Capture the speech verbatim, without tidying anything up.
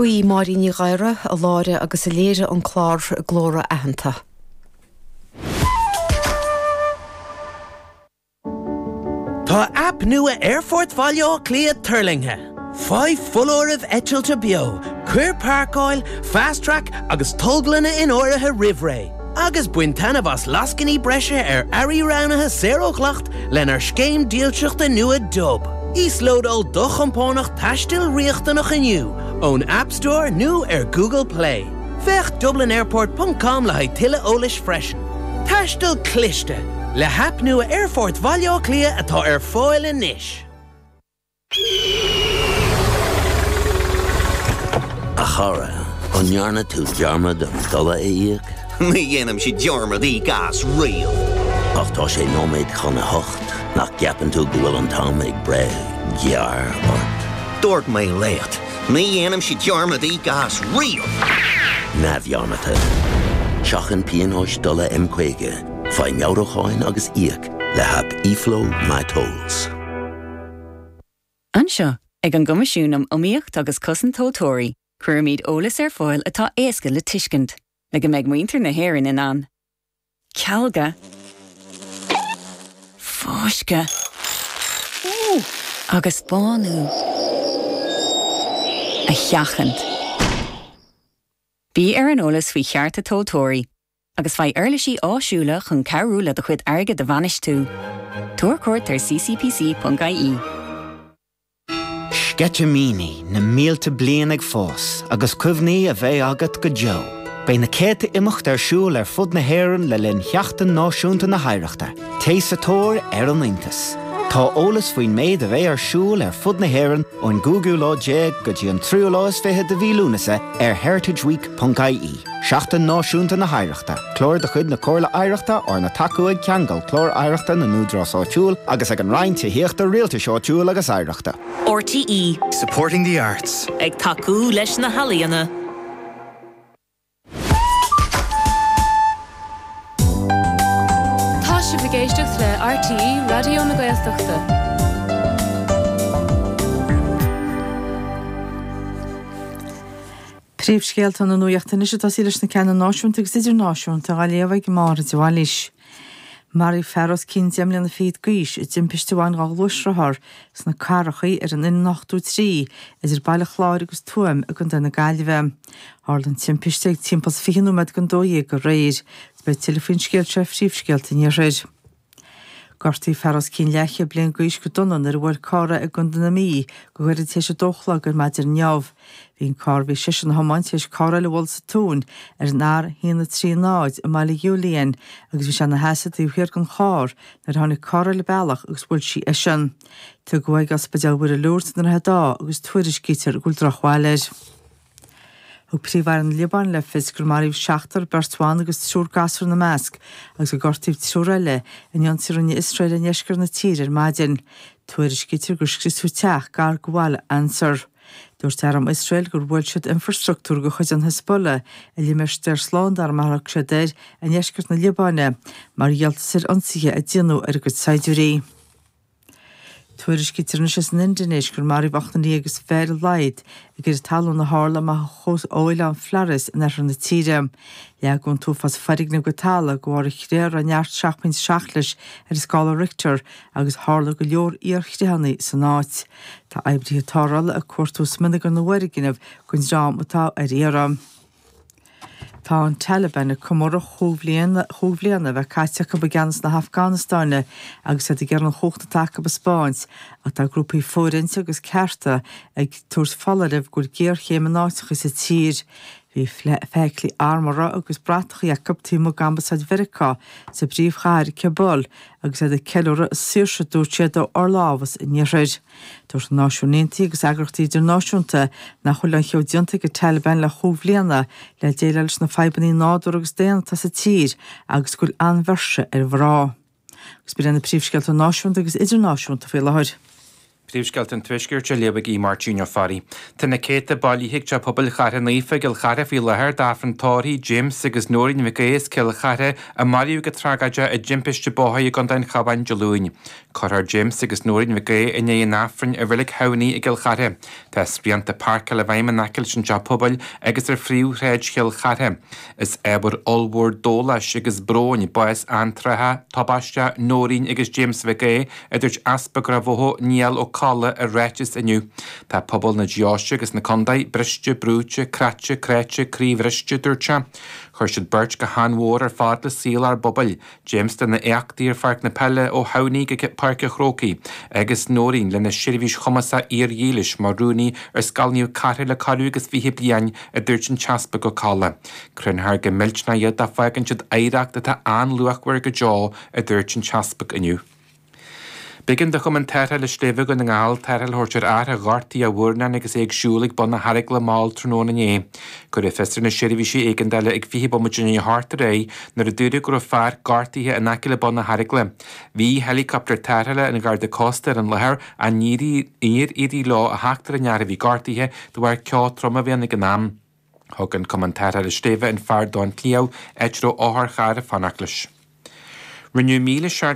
Ba í Máirín Ní Ghadhra a láithrigh agus a léirigh an clár Glóra Aitheanta. Tá aip nua Aerfort Bhaile Átha Cliath tuirlingthe. Faigh foláirimh eitilte beo, cuir páirceáil, fast track agus tolglanna in áirithe roimh ré. Agus bain taitneamh as lascainí breise ar earraí roghnaithe saor ó dhleacht lenár scéim dílseachta nua Dub. Íoslódáil do chompánach taistil riachtanach inniu ón App Store nó ar Google Play. Féach dublinairport.com le haghaidh tuilleadh eolais freisin. Taisteal cliste le haip nua Aerfort Bhaile Átha Cliath atá ar fáil anois. A chara, an ndearna tú dearmad an dola a íoc? Ní dhéanaimse dearmad íoc as riamh. Ach tá sé nóiméad chun a hocht nach gceapann tú go bhfuil an t-am ag breith gearr ort. Dúirt mé leat, ní dhéanaimse dearmad íoc as riamh. Neamhdhearmadta. Seachain pionóis dola M caoga, faigh meabhrúcháin agus íoc le haip eFlow MyTolls. Anseo, ag an gCoimisiún um Iomaíocht agus Cosaint Tomhaltóirí, cuirimid eolas ar fáil atá éasca le tuiscint, le go mbeidh muintir na hÉireann in ann. Cealga, fáisceadh agus bánú a sheachaint. Bí ar an eolas faoi chearta tomhaltóirí, agus faigh uirlisí áisiúla chun cabhrú le do chuid airgid a bhainistiú. Tabhair cuairt ar ccpc.ie. Sceitimíní na mílte bliain ag fás agus cuimhní a bheidh agat go deo. Beidh na céadta imeacht ar siúl ar fud na hÉireann le linn Sheachtain Náisiúnta na hOidhreachta, Téigh sa tóir ar an iontas. Tá eolas faoin méid a bheidh ar siúl ar fud na hÉireann ón gcúigiú lá déag go dtí an tríú lá is fiche de mhí Lúnasa ar heritageweek.ie. Seachtain Náisiúnta na hOidhreachta, clár de chuid na Comhairle Oidhreachta arna tacú ag Ceangal Clár Oidhreachta na nÚdarás Áitiúil agus ag an Roinn Tithíochta Rialtais Áitiúil agus Oidhreachta. RTE Supporting the arts. Ag tacú leis na healaíona. Tá sibh ag éisteacht le RTE Raidió na Gaeltachta. Príomhscéalta na nuachta anois ag tosaí leis na ceanna náisiúnta agus idirnáisiúnta á léamh ag Máire de Bhailís. Maraíodh fear os cionn deich mbliana fichead d'aois i dtimpiste a bhain dhá ghluaisrothar sna Carrachaí ar an N ochtó trí idir Baile Chláir agus Tuaim i gContae na Gaillimhe. Tharla an timpiste ag timpeall fiche nóiméad don dó dhéag aréir. Beidh tuilleadh faoin scéal seo phríomhscéalta an iarthair. Gortaíodh fear os cionn leathchéad bliain d'aois go dona nuair a bhuail carr é i gContae na Mí go gairid tar éis a dó a chlog ar maidin inniu. Bhí an carr a bhí seisean a thiomáint tar éis carr eile a bhualadh sa tóin ar an R haon a trí náid i mBaile Ghiúliain agus bhí sé ina sheasamh taobh thiar den charr nuair a tháinig carr eile bealach agus bhuail sí eisean. Tugadh ag Ospidéal Mhuire Lourdes i nDroichead Átha agus tuairiscítear go bhfuil drochbhail air. Thug Príomh-Aire na Liobáine le fios gur maraíodh seachtar, beirt bhan agus triúr gasúr ina measc, agus gur gortaíodh triúr eile in ionsaí a rinne Iosrael i ndeisceart na tíre ar maidin. Tuairiscítear gur scriosadh teach gar do bhaile Ansar. Dúirt arm Iosrael gur bhuail siad infreastruchtúr de chuid an Hezbollah i limistéar slándála mar a thug siad air i ndeisceart na Liobáine mar dhíoltas ar ionsaithe a déanadh ar a gcuid saighdiúirí. Tuairiscítear anois as an Indinéis gur maraíodh ochtar déag agus fiche ar a laghad i gcreathadh talún a tharla amach ó oileán Flores in oirthear na tíre. Leag an t-uafás foirgneamh go talamh de bharr creatha a raibh neart seacht bpointe seacht leis ar an scála Richter agus tharla go leor oighearchreathanna san áit. Tá oibrithe tarrthála ag cuartú smionagar na bhfoirgneamh don dream atá ar iarraidh. Tá an Taliban ag comóradh chúig bhliana chúig bhliana a bheith caite acu i gceannas na hAfganastáine agus iad ag iarraidh an chumhacht atá acu a spáint ach tá grúpaí fóirithinte agus cearta ag tabhairt foláirimh go bhfuil géarchéim in áiteacha sa tír. Bhí feithiclí armúrtha agus bratachaí acu taobh amuigh d'ambasáid Mheiriceá sa bpríomhchathair Kabul agus iad ag ceiliúradh a saoirse dúirt siad ó fhorlámhas an iarthair. Dúirt na Náisiúin Aontaithe agus eagraíochtaí idirnáisiúnta nach bhfuil aon cheo déanta ag an Taliban le chúig bhliana le déileáil leis na fadhbanna nádúrtha agus daonna atá sa tír agus go bhfuil an-mhuirse ar mhná. Agus b'in na príomhscéalta náisiúnta agus idirnáisiúnta faoi láthair. Príomhscéalta an Tuaiscirt á léamh ag Máirtín Ó Fearraigh. Tá na céadta bailithe ag Teach Pobail Chartha Naofa i gCill Chartha faoi láthair d'Aifreann tórraimh James agus Nóirín Mhic Aodha as Cill Chartha a maraíodh go tragóideach i dtimpiste bóthair i gContae an Chabháin Dé Luain. Cuirfear James agus Nóirín Mhic Aodha i ndiaidh an Aifrinn i Reilig Thamhnaigh i gCill Chartha. Tá srianta páirceála i bhfeidhm in aice leis an teach pobail agus ar phríomhshráid Chill Chartha. Is ábhar ollmhór dóláis agus bróin bás antrátha, tubaisteach Nóirín agus James Mhic Aodha, a dúirt Easpag Ráth Bhoth Niall Ó Colla i ráiteas inniu. Tá pobal na deoise agus na contae briste, brúite, cráite, cráite, croíbhriste dúirt sé. Chuir siad beirt go han-mhór ar fad le saol ár bpobail. James lena éachtaí ar pháirc na peile ó Thamhnaigh go Páirc an Chrócaigh, agus Nóirín lena seirbhís chumasach fhíordhílis mar rúnaí ar Scoil Naomh Cartha le corradh agus fiche bliain a dúirt an tEaspag Ó Colla. Cluinfear go millteanach iad dá bhfágann siad oidhreacht atá an-luachmhar go deo a dúirt an tEaspag inniu. B'éigean do Chumann Tarrthála Sléibhe Dhún na nGall tarrtháil a thabhairt ar fhear a ghortaigh a mhurnán agus é ag siúl ag bun na hEaragla mall tráthnóna inné. Cuireadh fios ar na seirbhísí éigeandála ag fiche bomaite i ndiaidh a hocht aréir nuair a dúradh go raibh fear gortaithe in aice le bun na hEaragla. Bhí helicopter tarrthála an Gharda Cósta ar an láthair ach níor éirigh leo a theacht ar an fhear a bhí gortaithe de bharr ceo trom a bhí ann ag an am. Thug an Cumann Tarrthála Sléibhe an fear don Cliabh áit a raibh otharcharr ag fanacht leis. Rinneadh míle seacht